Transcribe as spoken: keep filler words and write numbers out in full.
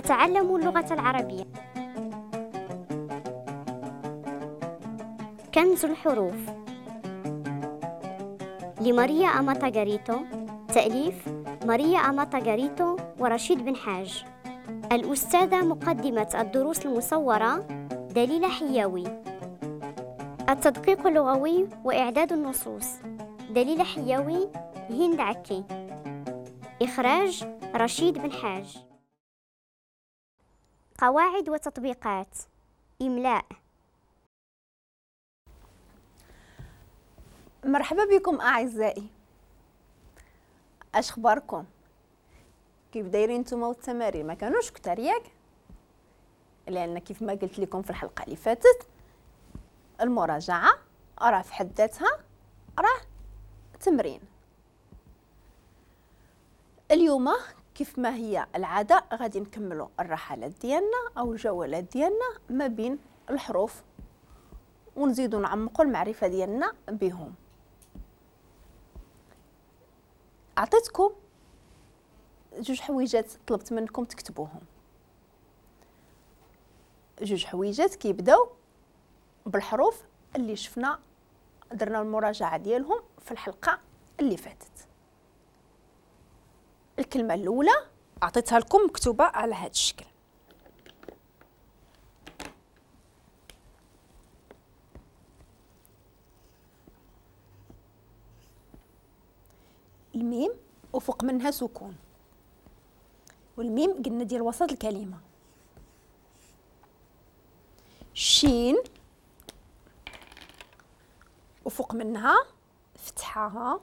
أتعلم اللغة العربية. كنز الحروف لماريا أماتا غاريتو، تأليف ماريا أماتا غاريتو ورشيد بن حاج. الأستاذة مقدمة الدروس المصورة دليلة حياوي. التدقيق اللغوي وإعداد النصوص دليلة حياوي، هند عكي. إخراج رشيد بن حاج. قواعد وتطبيقات إملاء. مرحبا بكم أعزائي، اش اخباركم؟ كيف دايرين نتوما والتمارين؟ ما كانوش كثار ياك؟ لان كيف ما قلت لكم في الحلقة اللي فاتت المراجعة راه في حد ذاتها راه تمرين. اليوم كيف ما هي العادة غادي نكملوا الرحلات ديالنا او الجولات ديالنا ما بين الحروف ونزيدوا نعمقوا المعرفة ديالنا بهم. عطيتكم جوج حويجات طلبت منكم تكتبوهم، جوج حويجات كيبداو بالحروف اللي شفنا درنا المراجعة ديالهم في الحلقة اللي فاتت. الكلمة الاولى عطيتها لكم مكتوبة على هذا الشكل، الميم وفوق منها سكون، والميم قلنا ديال وسط الكلمة. شين وفوق منها فتحه،